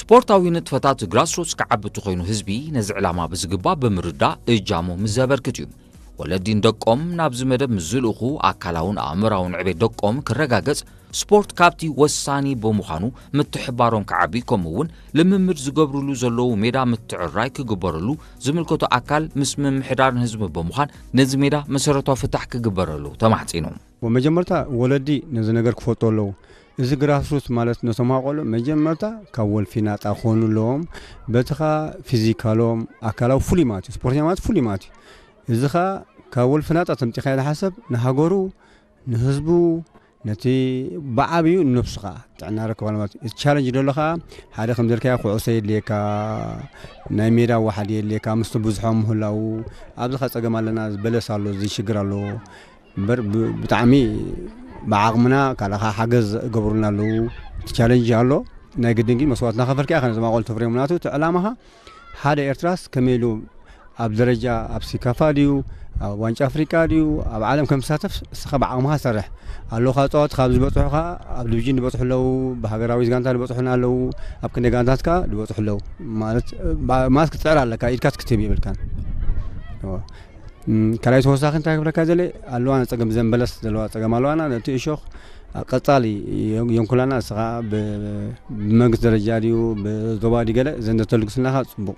ስፖርታዊ ንጥፈታት ግራስሩትስ ክዓቢ እንተኾይኑ ህዝቢ ነዚ ዕላማ ብዝግባእ ብምርዳእ እጃሙ ምስ ዘበርክት እዩ። ወለዲ ንደቆም ናብዚ መደብ ምስ ዝልእኹ ኣካላውን ኣእምራውን ዕቤት ደቆም ክረጋገጽ ስፖርት ካብቲ ወሳኒ ብምዃኑ ምትሕባሮም ክዓቢ ከምኡ እውን ልምምድ ዝገብርሉ ዘለዉ ሜዳ ምትዕራይ ክግበረሉ ዝምልከቶ ኣካል ምስ ምምሕዳርን ህዝቢ ብምዃን ነዚ ሜዳ መሰረታዊ ፍታሕ ክግበረሉ ተማሕጺኑ። መጀመርታ ወለዲ ነዚ ነገር ክፈልጡ ኣለዉ። እዚ ግራስሩት ማለት ነቶም ኣቆልዑ መጀመርታ ካብ ወልፊ ናጣ ክኾኑ ኣለዎም። በቲ ኸኣ ፊዚካሎም ኣካላዊ ፍሉይ ማለት እዩ። ስፖርተኛ ማለት ፍሉይ ማለት እዩ። እዚ ኸኣ ካብ ወልፊ ናጣ ተምጺኻ ኢለ ሓሰብ ንሃገሩ ንህዝቡ ነቲ ብዓብዩ ንነብሱ ኸዓ ጥዕና ረክባል ማለት እዩ። እቲ ቻለንጅ ደሎ ኸዓ ሓደ ከም ዘልካዮ ኩዕሶ የድልየካ፣ ናይ ሜዳ ዋሓድ የድልየካ፣ ምስቲ ብዙሖም ምህላው ኣብዚ ኸዓ ጸገም ኣለና፣ በለስ ኣሎ፣ እዚ ሽግር ኣሎ። እምበር ብ- ብጣዕሚ ብዓቕምና ካልኻ ሓገዝ ገብሩልና ኣለዉ። እቲ ቻለንጅ ኣሎ። ናይ ግድን ግን መስዋዕት እናኸፈልካ ኢኻ ነዞም ኣቆልዑ ተፍርዮም። ናቱ እቲ ዕላማኻ ሓደ ኤርትራስ ከመይ ኢሉ ኣብ ደረጃ ኣብ ሲካፋ ድዩ ኣብ ዋንጫ ኣፍሪቃ ድዩ ኣብ ዓለም ከም ዝሳተፍ እስኻ ብዓቕምኻ ሰርሕ። ኣለኻ ጸዋት ካብ ዝበጽሑ ኸዓ ኣብ ዲቪዥን ዝበጽሑ ኣለዉ። ብሃገራዊ ጋንታ ዝበጽሑና ኣለዉ። ኣብ ክንደ ጋንታት ከኣ ዝበጽሑ ኣለዉ። ማለት ባ- ማለት ክትጽዕር ኣለካ፣ ኢድካ ክትህብ የብልካን። እወ። ካልኣይ ተወሳኺ እንታይ ክብለካ ዘለ ኣለዋና ጸገም ዘንበለስ ዘለዋ ጸገም ኣለዋና። ነቲ እሾኽ ቀጻሊ የንኩላና። እስኻ ብመንግስቲ ደረጃ ድዩ ብዞባ ድዩ ገለ ዘንደተልግስናኻ ጽቡቕ።